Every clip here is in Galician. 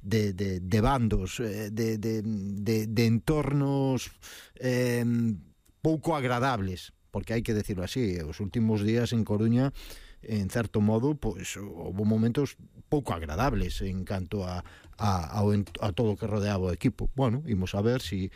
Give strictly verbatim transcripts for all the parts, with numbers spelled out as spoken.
de, de, de bandos, de, de, de, de entornos eh, pouco agradables, porque hai que decirlo así, os últimos días en Coruña, en certo modo, pois houve momentos pouco agradables en canto a, a, a, a todo o que rodeaba o equipo. Bueno, imos a ver se si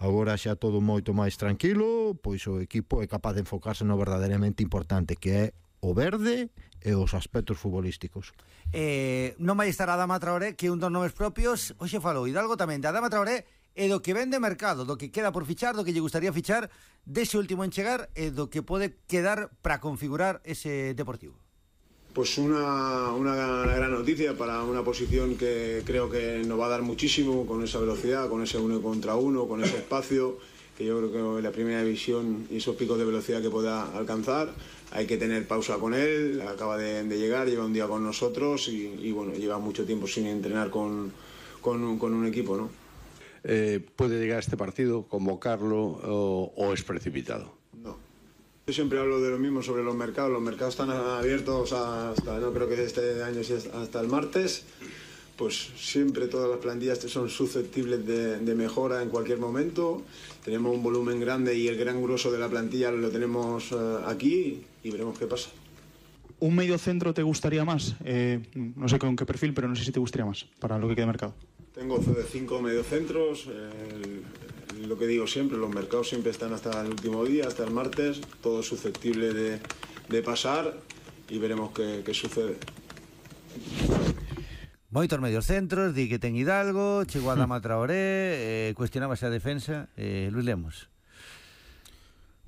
agora xa todo moito máis tranquilo, pois o equipo é capaz de enfocarse no verdadeiramente importante, que é o verde e os aspectos futbolísticos. Eh, non vai estar Adama Traoré, que é un dos nomes propios. Hoxe falou Hidalgo tamén de Adama Traoré e do que vende mercado, do que queda por fichar, do que lle gustaría fichar dese último en chegar e do que pode quedar para configurar ese Deportivo. Pues una, una gran noticia para una posición que creo que nos va a dar muchísimo, con esa velocidad, con ese uno contra uno, con ese espacio, que yo creo que en la primera división y esos picos de velocidad que pueda alcanzar, hay que tener pausa con él, acaba de, de llegar, lleva un día con nosotros y, y bueno, lleva mucho tiempo sin entrenar con, con, con un equipo, ¿no? Eh, ¿Puede llegar a este partido, convocarlo o, o es precipitado? No. Yo siempre hablo de lo mismo sobre los mercados. Los mercados están abiertos hasta, no creo que este año sea hasta el martes. Pues siempre todas las plantillas son susceptibles de, de mejora en cualquier momento. Tenemos un volumen grande y el gran grueso de la plantilla lo tenemos uh, aquí y veremos qué pasa. ¿Un medio centro te gustaría más? Eh, no sé con qué perfil, pero no sé si te gustaría más para lo que queda de mercado. Tengo cinco mediocentros, eh, lo que digo siempre, los mercados siempre están hasta el último día, hasta el martes, todo es susceptible de, de pasar y veremos qué, qué sucede. Moitos medios centros, di que ten Hidalgo, chegou a Adama Traoré, eh, cuestionábase a defensa, eh, Luis Lemos.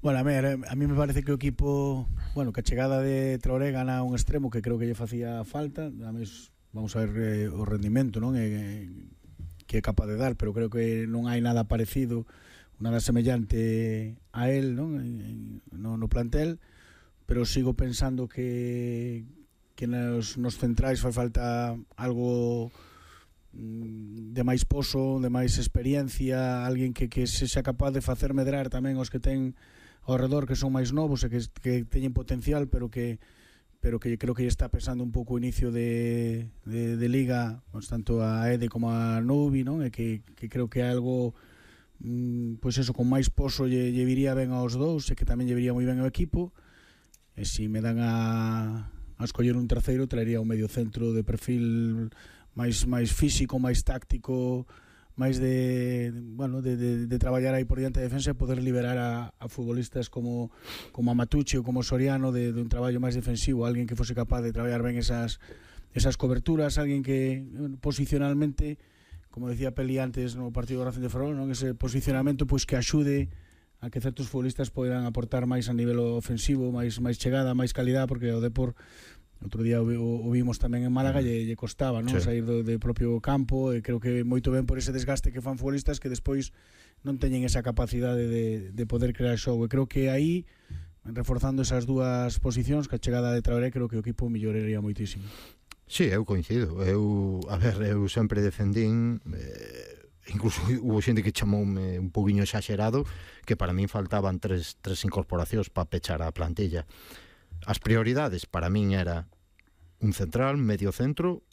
Bueno, a mí, a mí me parece que o equipo, bueno, que a chegada de Traoré gana un extremo que creo que lle facía falta. A mí, vamos a ver eh, o rendimento, non? Eh, que é capaz de dar, pero creo que non hai nada parecido, nada semellante a él, non? No, no plantel, pero sigo pensando que que nos, nos centrais fai falta algo de máis poso, de máis experiencia, alguén que, que se xa capaz de facer medrar tamén os que ten ao redor, que son máis novos e que, que teñen potencial, pero que pero que creo que está pesando un pouco o inicio de, de, de Liga, pues, tanto a Ede como a Nubi, non? E que, que creo que é algo mm, pois eso, con máis poso lle, lle viría ben aos dous e que tamén lle viría moi ben ao equipo. E se me dan a, a escoller un terceiro, traería un medio centro de perfil máis máis físico, máis táctico, máis de, bueno, de, de, de traballar aí por diante de defensa e poder liberar a, a futbolistas como, como a Matucci ou como Soriano de, de un traballo máis defensivo, alguén que fose capaz de traballar ben esas, esas coberturas, alguén que bueno, posicionalmente, como decía Peli antes no partido de Racing de Ferrol, non? Ese posicionamento pois que axude a que certos futbolistas poidan aportar máis a nivel ofensivo, máis máis chegada, máis calidad, porque o Depor outro día o, o vimos tamén en Málaga lle, lle costaba, non? Sí. Sair do, do propio campo, e creo que moito ben por ese desgaste que fan futbolistas que despois non teñen esa capacidade de, de poder crear xogo, e creo que aí reforzando esas dúas posicións, que a chegada de Traoré, creo que o equipo melloraría moitísimo. Sí, eu coincido, eu, a ver, eu sempre defendín eh, incluso hubo xente que chamoume un poquinho exagerado, que para min faltaban tres, tres incorporacións para pechar a plantilla. As prioridades para min era un central, medio centro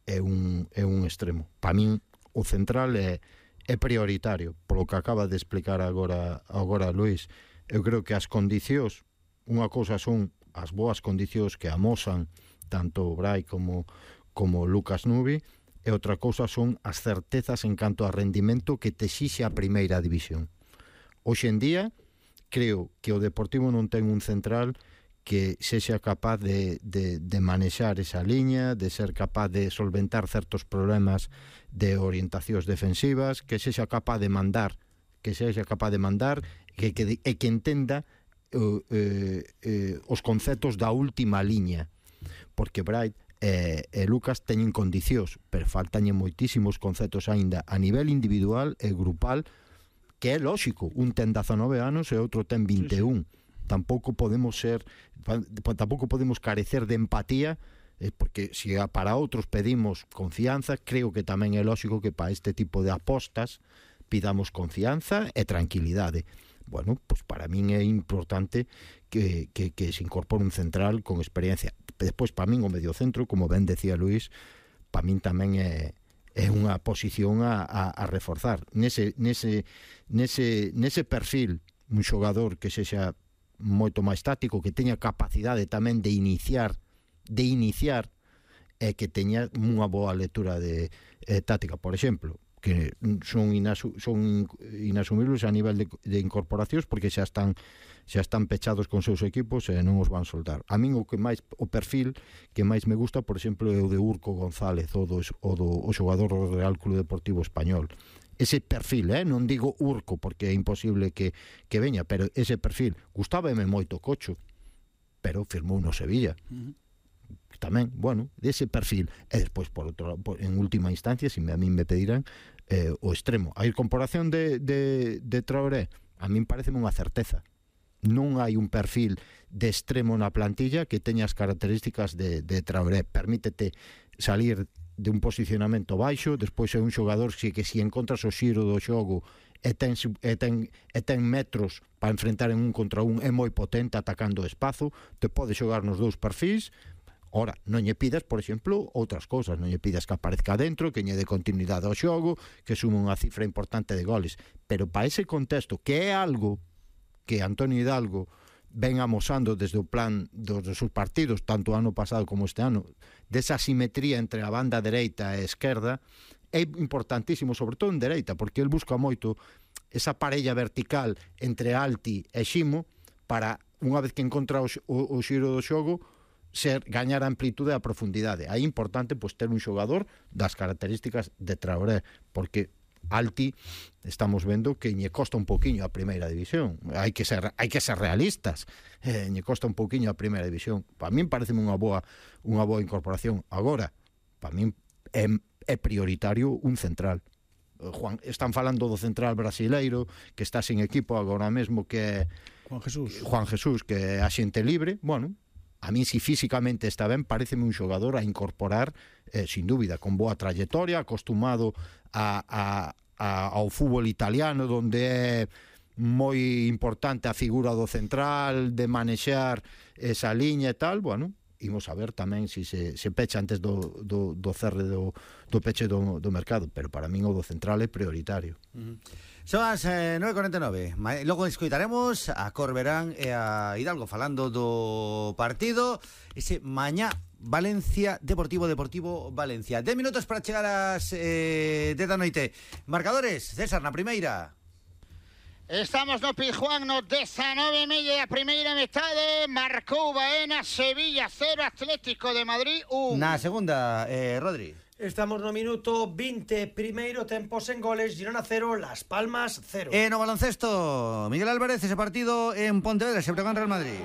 e un, e un extremo. Para min o central é, é prioritario, polo que acaba de explicar agora, agora Luís. Eu creo que as condicións, unha cousa son as boas condicións que amosan tanto o Brai como, como Lucas Nubi, e outra cousa son as certezas en canto a rendimento que te exixe a primeira división. Hoxe en día creo que o Deportivo non ten un central que sexa capaz de, de, de manexar esa liña, de ser capaz de solventar certos problemas de orientacións defensivas, que sexa capaz de mandar, que sexa capaz de mandar que, que, e que entenda uh, eh, eh, os conceptos da última liña, porque Bright e, e Lucas teñen condicións, pero faltañen moitísimos conceptos aínda a nivel individual e grupal, que é lóxico, un ten dezanove anos e outro ten vinte e un. Sí, sí. Tampouco podemos ser tampouco podemos carecer de empatía, eh, porque se si para outros pedimos confianza, creo que tamén é lógico que para este tipo de apostas pidamos confianza e tranquilidade. Bueno, pues para min é importante que, que, que se incorpore un central con experiencia. Despois, para min, o mediocentro, como ben decía Luís, para min tamén é, é unha posición a, a, a reforzar. Nese, nese, nese, nese perfil, un xogador que sexa moito máis táctico, que teña capacidade tamén de iniciar, de iniciar, e que teña unha boa lectura de eh, táctica, por exemplo, que son, inasu, son inasumibles a nivel de, de incorporacións, porque xa están xa están pechados con seus equipos e non os van soltar. A min o que máis o perfil que máis me gusta, por exemplo, é o de Urco González, o do, o do o xogador do Real Club Deportivo Español. Ese perfil, eh? Non digo Urco porque é imposible que, que veña, pero ese perfil, gustábame moito Cocho, pero firmou no Sevilla. Uh-huh. Tamén, bueno, dese perfil. E despois, por outro, por, en última instancia, se si a min me pedirán, eh, o extremo. A incorporación de, de, de Traoré, a min pareceme unha certeza. Non hai un perfil de extremo na plantilla que teña as características de, de Traoré. Permítete salir de un posicionamento baixo, despois é un xogador que, que se encontras o xiro do xogo e ten, e ten, e ten metros para enfrentar en un contra un, é moi potente atacando o espazo, te pode xogar nos dous perfis. Ora, non lle pidas, por exemplo, outras cousas, non lle pidas que aparezca dentro, que lle dé continuidade ao xogo, que sume unha cifra importante de goles, pero para ese contexto, que é algo que Antonio Hidalgo ven amosando desde o plan dos seus partidos, tanto o ano pasado como este ano, desa simetría entre a banda dereita e a esquerda, é importantísimo, sobre todo en dereita, porque el busca moito esa parella vertical entre Alti e Ximo para, unha vez que encontra o, o, o xiro do xogo, ser gañar a amplitude e a profundidade. Aí é importante pois, ter un xogador das características de Traoré, porque Alti estamos vendo que lle costa un poquinho a primeira división. Hai que ser hai que ser realistas. Eh, lle costa un poquinho a primeira división. Para min pareceme unha boa unha boa incorporación. Agora, para min é, é prioritario un central. Juan, están falando do central brasileiro que está sin equipo agora mesmo, que é Juan Jesús. Juan Jesús, que é axente libre. Bueno, a mí si físicamente está ben, pareceme un xogador a incorporar, eh, sin dúbida, con boa trayectoria, acostumado a, a, a, ao fútbol italiano, donde é moi importante a figura do central, de manexar esa liña e tal. Bueno, imos a ver tamén se si se, se pecha antes do, do, do cerre do, do peche do, do mercado, pero para min o do central é prioritario. Uh-huh. Son as eh, nove e cuarenta e nove. Logo escoitaremos a Corberán e a Hidalgo falando do partido ese mañá Valencia Deportivo Deportivo Valencia. dez minutos para chegar ás eh, dez da noite. Marcadores, César, na primeira. Estamos no Pizjuán, no dezanove e media da primeira metade. Marcou Baena, Sevilla cero, Atlético de Madrid un. Na segunda, eh, Rodri. Estamos no minuto vinte, primeiro tempo sen goles, Girona cero, Las Palmas cero. E no baloncesto, Miguel Álvarez, ese partido en Pontevedra, se Breogán Real Madrid.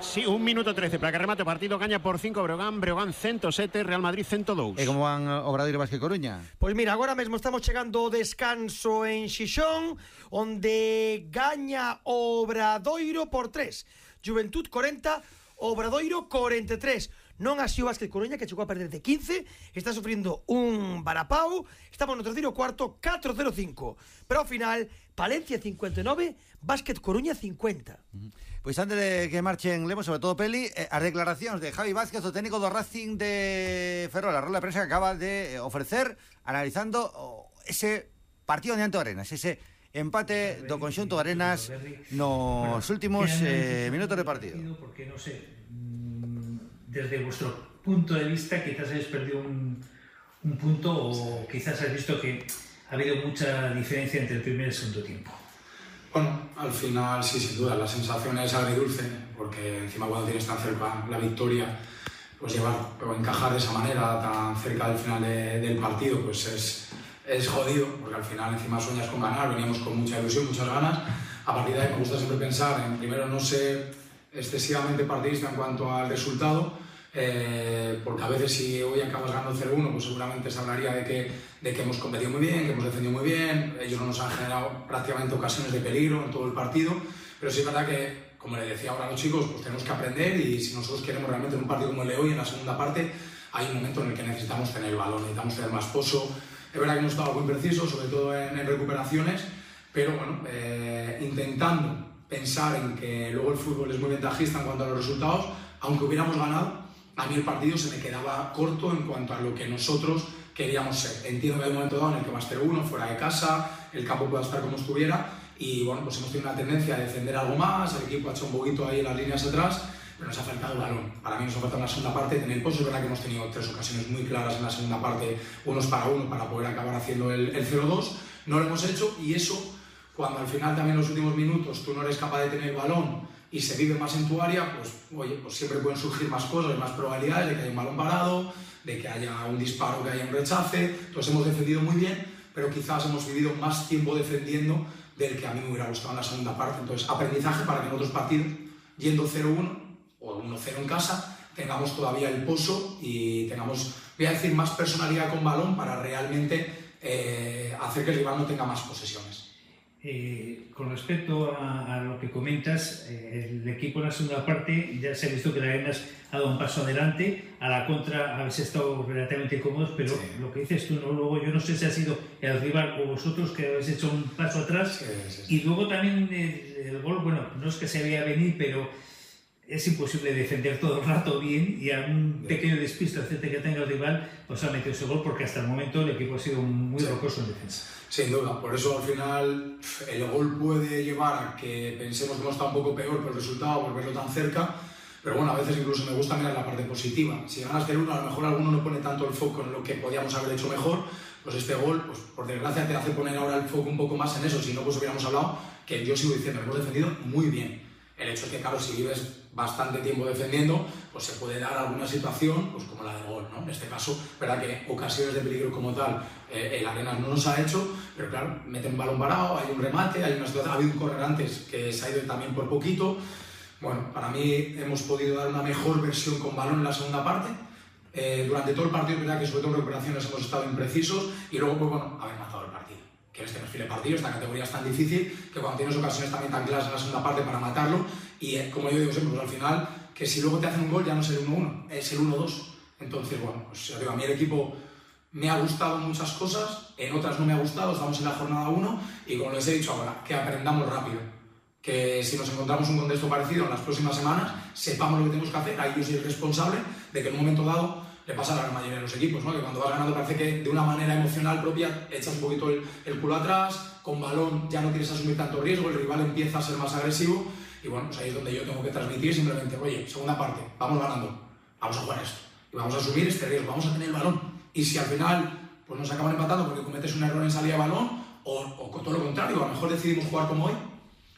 Sí, un minuto trece para que remate o partido, gaña por cinco Breogán, Breogán ciento sete, Real Madrid ciento dous. E como van Obradoiro Vázquez Coruña? Pois mira, agora mesmo estamos chegando ao descanso en Xixón, onde gaña Obradoiro por tres. Juventud corenta, Obradoiro corenta e tres. Non así o Vázquez Coruña, que chegou a perder de quince, está sufrindo un varapau, estamos no terceiro cuarto, catro cero cinco. Pero ao final, Palencia cincuenta e nove, Vázquez Coruña cincuenta. Uh-huh. Pois antes de que marchen, lemos sobre todo Peli, eh, as declaracións de Javi Vázquez, o técnico do Racing de Ferrol, a rola de prensa que acaba de ofrecer, analizando oh, ese partido diante do Arenas, ese empate do conxunto de Arenas nos últimos eh, minutos de partido. Porque no sé, desde vuestro punto de vista quizás habéis perdido un, un punto o quizás habéis visto que ha habido mucha diferencia entre el primer y el segundo tiempo. Bueno, al final sí, sin duda, la sensación es agridulce, porque encima cuando tienes tan cerca la victoria, pues llevar o encajar de esa manera tan cerca del final de, del partido, pues es, es jodido, porque al final encima sueñas con ganar, veníamos con mucha ilusión, muchas ganas. A partir de ahí me gusta siempre pensar en, primero, no ser excesivamente partidista en cuanto al resultado, eh, porque a veces si hoy acabas ganando cero uno, pues seguramente se hablaría de que, de que hemos competido muy bien, que hemos defendido muy bien, ellos no nos han generado prácticamente ocasiones de peligro en todo el partido, pero sí es verdad que, como le decía ahora a los chicos, pues tenemos que aprender, y si nosotros queremos realmente en un partido como el de hoy, en la segunda parte, hay un momento en el que necesitamos tener el balón, necesitamos tener más pozo. Es verdad que hemos estado muy precisos, sobre todo en, en recuperaciones, pero bueno, eh, intentando pensar en que luego el fútbol es muy ventajista en cuanto a los resultados, aunque hubiéramos ganado, a mí el partido se me quedaba corto en cuanto a lo que nosotros queríamos ser. Entiendo que hay un momento dado en el que va a ser uno, fuera de casa, el campo pueda estar como estuviera, y bueno, pues hemos tenido una tendencia a defender algo más, el equipo ha hecho un poquito ahí en las líneas atrás, pero nos ha faltado el balón. Para mí nos ha faltado en la segunda parte tener el pozo. Es verdad que hemos tenido tres ocasiones muy claras en la segunda parte, unos para uno, para poder acabar haciendo el, el cero dos. No lo hemos hecho, y eso, cuando al final también en los últimos minutos tú no eres capaz de tener el balón y se vive más en tu área, pues oye, pues siempre pueden surgir más cosas, más probabilidades de que haya un balón parado, de que haya un disparo, que haya un rechace. Entonces hemos defendido muy bien, pero quizás hemos vivido más tiempo defendiendo del que a mí me hubiera gustado en la segunda parte. Entonces, aprendizaje para que en otros partidos, yendo cero uno o uno cero en casa, tengamos todavía el pozo y tengamos, voy a decir, más personalidad con balón para realmente eh, hacer que el rival no tenga más posesiones. Eh, con respecto a, a lo que comentas, eh, el equipo en la segunda parte ya se ha visto que la Arenas ha dado un paso adelante, a la contra habéis estado relativamente cómodos, pero sí, lo que dices tú, ¿no? Luego yo no sé si ha sido el rival o vosotros que habéis hecho un paso atrás, sí, sí, sí. Y luego también el, el gol, bueno, no es que se veía venir, pero es imposible defender todo el rato bien, y a un pequeño despiste que tenga el rival pues ha metido ese gol, porque hasta el momento el equipo ha sido muy rocoso en defensa. Sin duda, por eso al final el gol puede llevar a que pensemos que no está un poco peor por el resultado, por verlo tan cerca, pero bueno, a veces incluso me gusta mirar la parte positiva. Si ganas del uno, a lo mejor alguno no pone tanto el foco en lo que podíamos haber hecho mejor, pues este gol, pues por desgracia te hace poner ahora el foco un poco más en eso. Si no, pues hubiéramos hablado, que yo sigo diciendo, hemos defendido muy bien. El hecho es que, claro, si vives bastante tiempo defendiendo, pues se puede dar alguna situación, pues como la del gol, ¿no? En este caso, verdad que ocasiones de peligro como tal, eh, el Arenas no nos ha hecho, pero claro, meten un balón parado, hay un remate, hay una situación, ha habido un correr antes que se ha ido también por poquito. Bueno, para mí hemos podido dar una mejor versión con balón en la segunda parte. Eh, durante todo el partido, es verdad que sobre todo en recuperaciones hemos estado imprecisos, y luego, pues bueno, haber matado el partido. Que este perfil de partido, esta categoría es tan difícil que cuando tienes ocasiones también tan claras en la segunda parte para matarlo, y eh, como yo digo siempre, pues al final, que si luego te hacen un gol ya no es el uno uno, es el uno dos. Entonces, bueno, pues ya digo, a mí el equipo me ha gustado muchas cosas, en otras no me ha gustado, estamos en la jornada uno, y como les he dicho ahora, que aprendamos rápido. Que si nos encontramos un contexto parecido en las próximas semanas, sepamos lo que tenemos que hacer. Ahí yo soy responsable de que en un momento dado le pasa a la gran mayoría de los equipos, ¿no? Que cuando vas ganando parece que de una manera emocional propia echas un poquito el, el culo atrás, con balón ya no quieres asumir tanto riesgo, el rival empieza a ser más agresivo, y bueno, pues ahí es donde yo tengo que transmitir simplemente, oye, segunda parte, vamos ganando, vamos a jugar esto, y vamos a asumir este riesgo, vamos a tener el balón, y si al final pues nos acaban empatando porque cometes un error en salida de balón, o, o con todo lo contrario, a lo mejor decidimos jugar como hoy,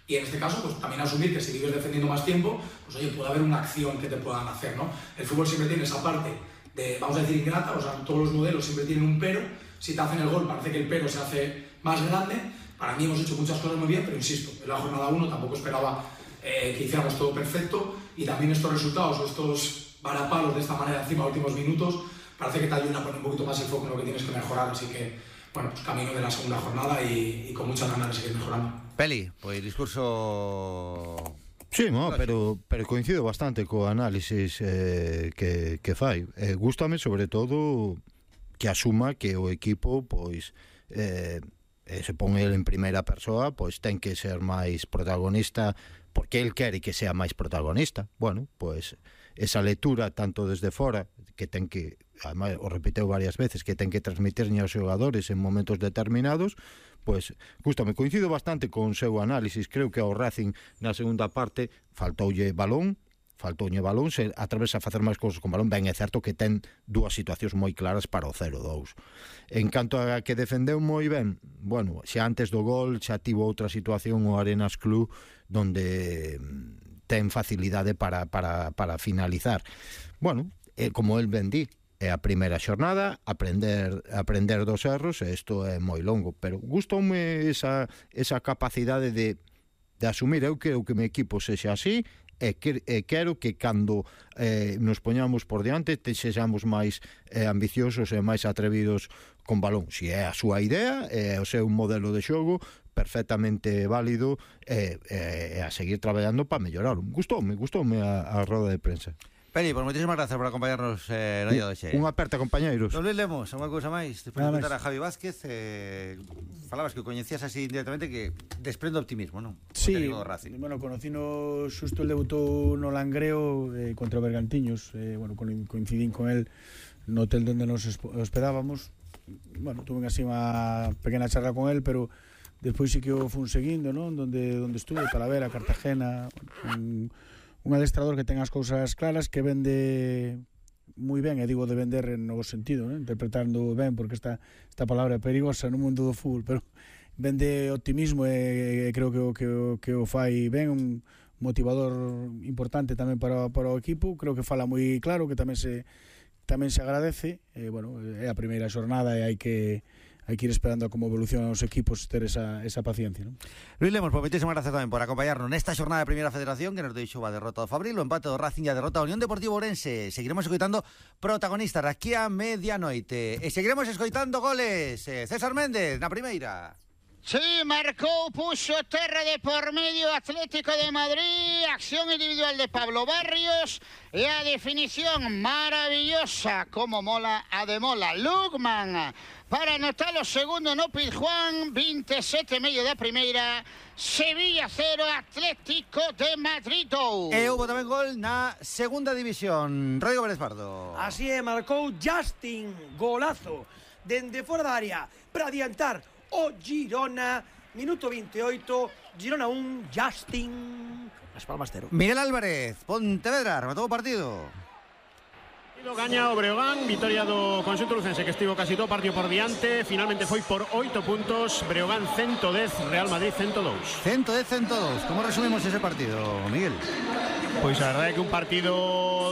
y en este caso, pues también asumir que si vives defendiendo más tiempo, pues oye, puede haber una acción que te puedan hacer, ¿no? El fútbol siempre tiene esa parte de, vamos a decir, ingrata, o sea, todos los modelos siempre tienen un pero. Si te hacen el gol, parece que el pero se hace más grande. Para mí hemos hecho muchas cosas muy bien, pero insisto, en la jornada uno tampoco esperaba eh, que hiciéramos todo perfecto, y también estos resultados o estos varapalos de esta manera encima de últimos minutos, parece que te ayudan a poner un poquito más el foco en lo que tienes que mejorar, así que, bueno, pues camino de la segunda jornada y, y con muchas ganas de seguir mejorando. Peli, pues discurso... Sí, no, pero, pero coincido bastante co análisis eh, que, que fai. Eh, gústame sobre todo que asuma que o equipo pois eh, se pon el en primeira persoa, pois ten que ser máis protagonista porque el quere que sea máis protagonista. Bueno, pois esa lectura tanto desde fora, que ten que, además, o repeteu varias veces, que ten que transmitir aos xogadores en momentos determinados, pois, gústame, coincido bastante con o seu análisis. Creo que ao Racing na segunda parte faltoulle balón, faltoulle balón, se atravesa a facer máis cousas con balón. Ben, é certo que ten dúas situacións moi claras para o cero dous. En canto a que defendeu moi ben, bueno, xa antes do gol xa tivo outra situación o Arenas Club donde ten facilidade para, para, para finalizar. Bueno, eh, como el ben di, é a primeira xornada, aprender aprender dos erros, e isto é moi longo, pero gustoume esa, esa capacidade de, de asumir. Eu quero que o meu equipo sexa así, e, que, e quero que cando eh, nos poñamos por diante te sexamos máis eh, ambiciosos e máis atrevidos con balón. Si é a súa idea, é o seu modelo de xogo, perfectamente válido, e, e, e a seguir traballando para mellorarlo. Gustoume, gustoume a, a roda de prensa. Peli, pues moitísimas gracias por acompañarnos eh, no día de hoxe. Unha aperta, compañeiros. Non Luis Lemos, unha cousa máis. Despois de preguntar a Javi Vázquez, eh, falabas que o coñecías así indirectamente, que desprende optimismo, non? Sí, bueno, conocino xusto el debutou no Langreo eh, contra o Bergantiños, eh, bueno, coincidín con el no hotel donde nos hospedábamos, bueno, tuve así unha pequena charla con él, pero despois sí que o fun seguindo, non? Donde, donde estuve, Talavera, Cartagena, un, un adestrador que ten as cousas claras, que vende moi ben, e digo de vender en novo sentido, non? Interpretando ben, porque esta, esta palabra é perigosa no mundo do fútbol, pero vende optimismo e, e creo que o, que, o, que o fai ben, un motivador importante tamén para, para o equipo. Creo que fala moi claro, que tamén se tamén se agradece, e, bueno, é a primeira xornada e hai que hai que ir esperando a como evolucionan os equipos, ter esa, esa paciencia, ¿no? Luis Lemos, por moitísimas gracias tamén por acompañarnos nesta xornada de Primeira Federación, que nos deixou a derrota do Fabril, o empate do Racing e a derrota da Unión Deportivo Ourense. Seguiremos escoitando protagonistas aquí a medianoite e seguiremos escoitando goles. eh, César Méndez na primeira. Sí, marcó, puso terra de por medio Atlético de Madrid, acción individual de Pablo Barrios y a definición maravillosa, como mola a de mola, Lugman, para anotar o segundo no Pizjuán, veintisiete e medio da primeira, Sevilla cero, Atlético de Madrid dous. E houve tamén gol na segunda división, Rodrigo Pérez Pardo. Así é, marcou Justin, golazo, dende fora da área, para adiantar o Girona, minuto veintiocho, Girona un, Justin, Las Palmas cero. Miguel Álvarez, Pontevedra, rematou o partido. Gaña o Breogán, victoria do conxunto lucense que estivo casi todo partido por diante, finalmente foi por oito puntos, Breogán ciento dez, Real Madrid ciento dous. ciento dez, ciento dous, como resumimos ese partido, Miguel? Pois a verdade é que un partido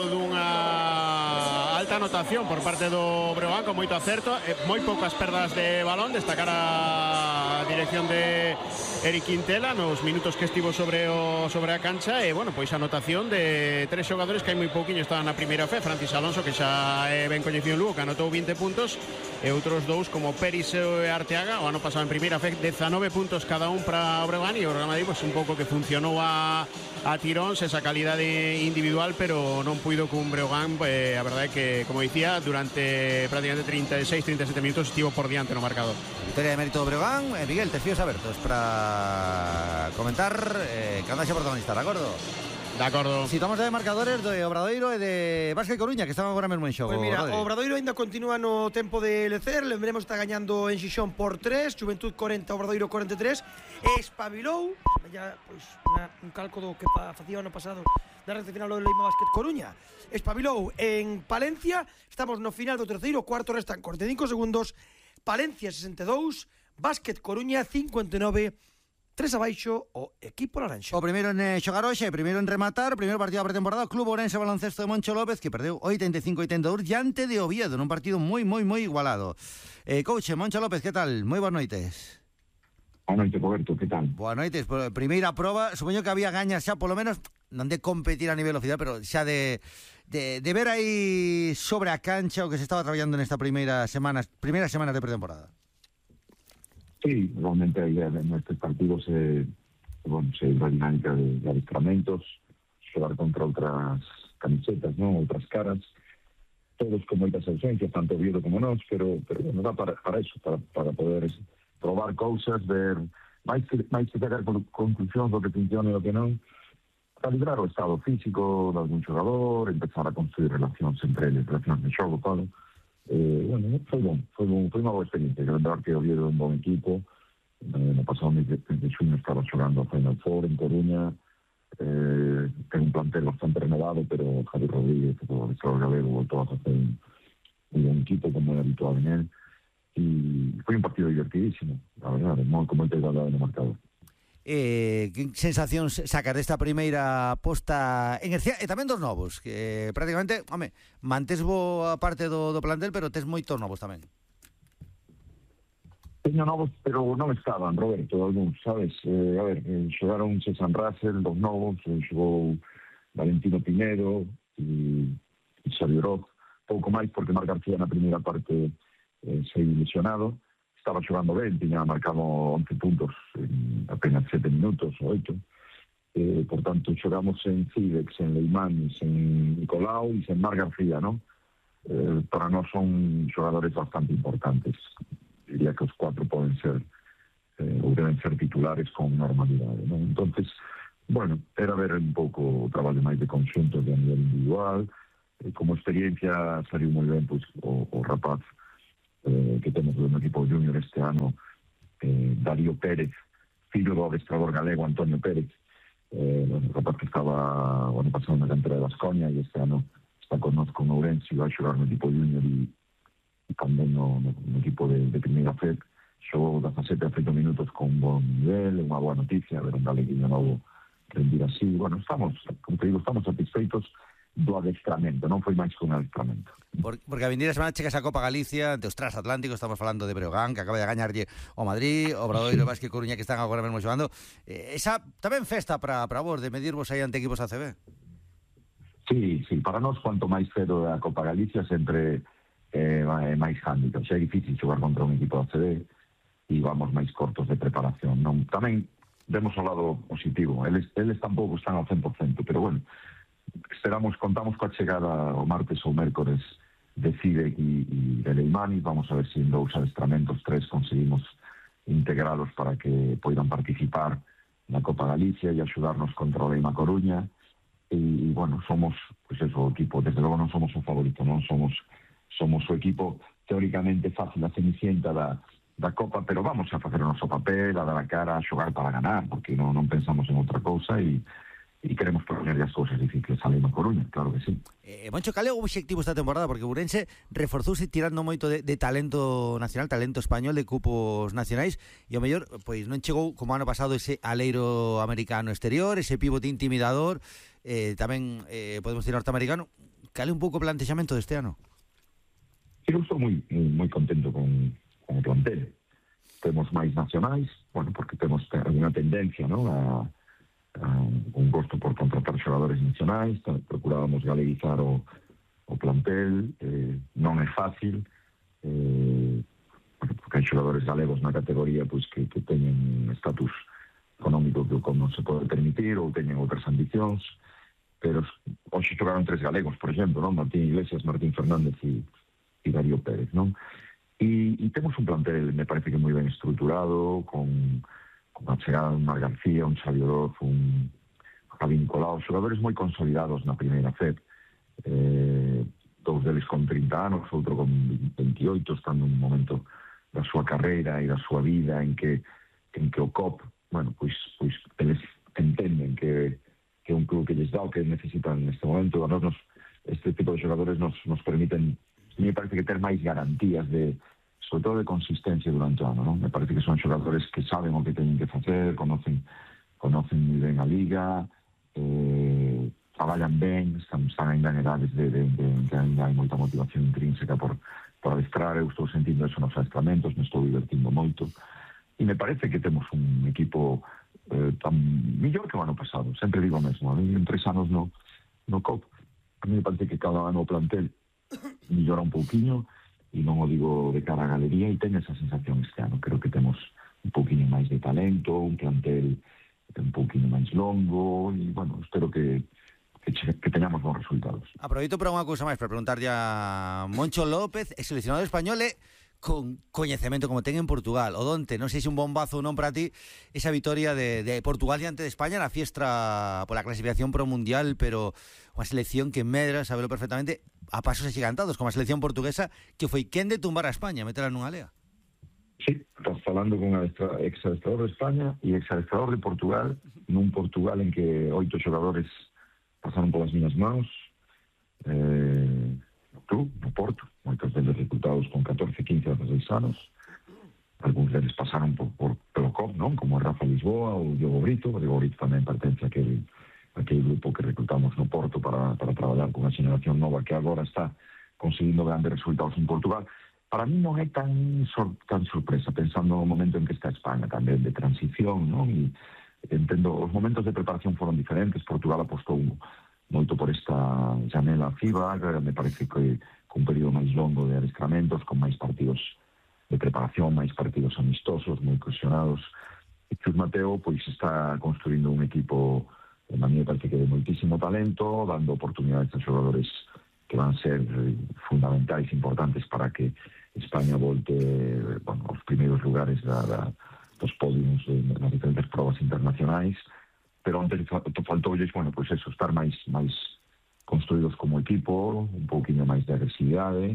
dunha alta anotación por parte do Breogán, con moito acerto, e moi poucas perdas de balón, destacar a dirección de Eric Quintela nos minutos que estivo sobre o sobre a cancha, e bueno, pois a anotación de tres xogadores que hai moi pouquiño estaban na primeira fe, Francis Alonso, que xa é ben coñecido en Lugo, que anotou vinte puntos, e outros dous como Peris e Arteaga, o ano pasado en primeira fe, dezanove puntos cada un para o Breogán, e o Real Madrid pois un pouco que funcionou a, a tiróns esa calidade individual, pero non puido cun Breogán, eh, a verdade é que, como dicía, durante prácticamente treinta e seis, treinta e sete minutos estivo por diante no marcador. Victoria de mérito do Breogán. eh, Miguel, te fíos abertos para comentar eh, que anda xa protagonista, de acordo? De acordo. Citamos de marcadores do Obradoiro e de Vázquez Coruña, que estaban agora mesmo en xogo. Pois mira, Rodri. o Obradoiro ainda continúa no tempo de lecer, lembremos está gañando en Xixón por tres, Juventud cuarenta, Obradoiro cuarenta e tres, espabilou, ya, pois, una, un calco do que pa, facía o ano pasado na recta final do Leima Vázquez Coruña, espabilou en Palencia, estamos no final do terceiro, cuarto restan cuarenta e cinco segundos, Palencia sesenta e dous, Vázquez Coruña cincuenta e nove, tres abaixo o equipo laranxa. O primeiro en eh, xogar hoxe, primeiro en rematar, primeiro partido da pretemporada, Club Ourense Baloncesto de Moncho López, que perdeu oitenta e cinco a oitenta e dous diante de Oviedo, nun partido moi, moi, moi igualado. Eh, coach, Moncho López, que tal? Moi boas noites. Boa noite, Roberto, que tal? Boas noites, por primeira proba, supoño que había gañas xa, polo menos, non de competir a nivel oficial, pero xa de, de, de ver aí sobre a cancha o que se estaba traballando nesta primeira semana, primeiras semanas de pretemporada. Sí, realmente a idea de nuestros partidos é, bueno, é a dinámica de, de adestramentos, xogar contra outras camisetas, non, outras caras, todos con moitas ausencias, tanto Oviedo como nós, pero, pero bueno, dá para, para eso, para, para poder probar cousas, ver, máis que, máis que sacar conclusións do que funciona e do que non, calibrar o estado físico de algún xogador, empezar a construir relacións entre eles, relacións de xogo, todo. Eh, bueno, foi bom, foi, bom, foi unha boa experiencia, que lembrar que Oviedo é un bom equipo, eh, no pasado mes de, de xuño estaba xogando a Final Four en Coruña, eh, ten un plantel bastante renovado, pero Javier Rodríguez, o Alexandre Galego, voltou a facer un, un bom equipo como é habitual en él, e foi un partido divertidísimo, la verdade, con moita igualdade no marcador. Eh, que sensacións sacas desta primeira posta en Ercía e tamén dos novos, que prácticamente, home, mantés boa parte do, do plantel, pero tes moitos novos tamén. Teño novos, pero non estaban, Roberto, algúns, sabes? Eh, a ver, eh, xogaron César Russell, dos novos, eh, xogou Valentino Pinedo e, e Xavier Roth, pouco máis porque Marc García na primeira parte eh, se ilusionado. Estaba xogando ben, tiña marcado once puntos en apenas sete minutos ou oito. Eh, por tanto, xogamos en Cidex, en Leimanis, en Nicolau e en Marc García, ¿no? Eh, para nós son xogadores bastante importantes. Diría que os cuatro poden ser eh, ou deben ser titulares con normalidade, ¿no? Entonces, bueno, era ver un pouco o traballo máis de conxunto de a nivel individual. Eh, como experiencia saliu moi ben, pois, o, o rapaz eh, que temos no equipo junior este ano, eh, Darío Pérez, fillo do adestrador galego Antonio Pérez, eh, bueno, rapaz que estaba o ano pasado na cantera de Baskonia e este ano está connosco no Ourense e vai xogar no equipo junior e, e tamén no, no, no equipo de, de primeira F E D. Xogou dezasete a oito minutos con un bon nivel, unha boa noticia, ver un galeguinho novo rendir así. Bueno, estamos, como te digo, estamos satisfeitos do adestramento, non foi máis que un adestramento. Por, porque a vindeira semana chegas a Copa Galicia ante os transatlánticos, estamos falando de Breogán, que acaba de gañarlle o Madrid, o Obradoiro, Vázquez e Coruña, que están agora mesmo xogando. Eh, esa tamén festa para vos, de medirvos aí ante equipos A C B. Sí, sí, para nós, cuanto máis cedo a Copa Galicia, sempre é eh, máis hándicap. Xa é difícil xogar contra un equipo da A C B e vamos máis cortos de preparación. Non, tamén vemos o lado positivo. Eles, eles tampouco están ao cen por cento, pero bueno, esperamos, contamos coa chegada o martes ou mércores de Cide e, e de Leimani. Vamos a ver se en dous adestramentos, tres, conseguimos integralos para que poidan participar na Copa Galicia e axudarnos contra o Leima Coruña. E, e bueno, somos, pois pues eso, o equipo, desde logo non somos o favorito, non somos somos o equipo teóricamente fácil, a cenicienta da, da Copa, pero vamos a facer o noso papel, a dar a cara, a xogar para ganar, porque non, non pensamos en outra cousa e e queremos poner as cousas difíciles a Leima Coruña, claro que sí. Eh, Moncho, cal é o obxectivo esta temporada? Porque Ourense reforzouse tirando moito de, de talento nacional, talento español, de cupos nacionais, e o mellor, pois non chegou como ano pasado ese aleiro americano exterior, ese pivote intimidador, eh, tamén eh, podemos decir norteamericano. Cal é un pouco o plantexamento deste ano? Eu estou moi, moi contento con, con o plantel. Temos máis nacionais, bueno, porque temos unha tendencia, non, a Uh, un gosto por contratar xogadores nacionais, procurábamos galeguizar o, o plantel, eh, non é fácil, eh, porque hai xogadores galegos na categoría pois que, que teñen estatus económico que como non se pode permitir ou teñen outras ambicións, pero hoxe xogaron tres galegos, por exemplo, non? Martín Iglesias, Martín Fernández e, e Darío Pérez, non? E, e temos un plantel, me parece que moi ben estruturado, con a chegada un Mar García, un Xavi Oroz, un Javi Nicolau, xogadores moi consolidados na primeira F E D, eh, dous deles con trinta anos, outro con veintioito, estando en un momento da súa carreira e da súa vida en que en que o C O P, bueno, pois, pois eles entenden que, que un club que lles dá o que necesitan neste momento. A nos, este tipo de xogadores nos, nos permiten, me parece que ter máis garantías de sobre todo de consistencia durante o ano, non? Me parece que son xogadores que saben o que teñen que facer, conocen conocen moi ben a liga, eh, traballan ben, están, están ainda en edades de, de, de, de que ainda hai moita motivación intrínseca por, por adestrar. Eu estou sentindo eso nos adestramentos, me estou divertindo moito, e me parece que temos un equipo eh, tan mellor que o ano pasado. Sempre digo o mesmo, en tres anos no, no C O P, a mí me parece que cada ano o plantel mellora un pouquiño, e non o digo de cara a galería, e ten esa sensación este ano. Creo que temos un pouquinho máis de talento, un plantel un pouquinho máis longo, e, bueno, espero que, que, que teñamos bons resultados. Aproveito para unha cousa máis, para preguntarlle a Moncho López, ex seleccionador español, e con coñecemento como ten en Portugal. O donte, non sei se un bombazo ou non para ti, esa vitoria de, de Portugal diante de España na fiestra pola clasificación pro Mundial, pero unha selección que medra, sabelo perfectamente, a pasos axigantados, como a selección portuguesa, que foi quen de tumbar a España, metela nunha lea. Sí, estás falando con un ex-adestrador de España e ex-adestrador de Portugal, nun Portugal en que oito xogadores pasaron polas miñas mãos, eh, no club, no Porto, moitos deles reclutados con catorce, quince, dezasseis anos, algúns deles pasaron por, por pelo C O P, non? Como Rafa Lisboa ou Diogo Brito. O Diogo Brito tamén pertence a aquel aquel grupo que reclutamos no Porto para, para traballar con a xeneración nova que agora está conseguindo grandes resultados en Portugal. Para mí non é tan, sor, tan sorpresa, pensando no momento en que está España tamén, de transición, non? E entendo, os momentos de preparación foron diferentes. Portugal apostou moito por esta janela FIBA, me parece que con un período máis longo de adestramentos, con máis partidos de preparación, máis partidos amistosos, moi cohesionados. E Chus Mateo, pois, está construindo un equipo, a mí me parece que de moitísimo talento, dando oportunidades a xogadores que van ser fundamentais, importantes para que España volte, bueno, aos primeiros lugares da, da, dos podiums nas diferentes probas internacionais, pero antes faltoulles, bueno, pois eso, estar máis máis construídos como equipo, un pouquinho máis de agresividade,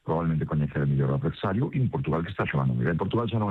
probablemente coñecer mellor o adversario, e un Portugal que está xogando moi ben. Portugal xa non é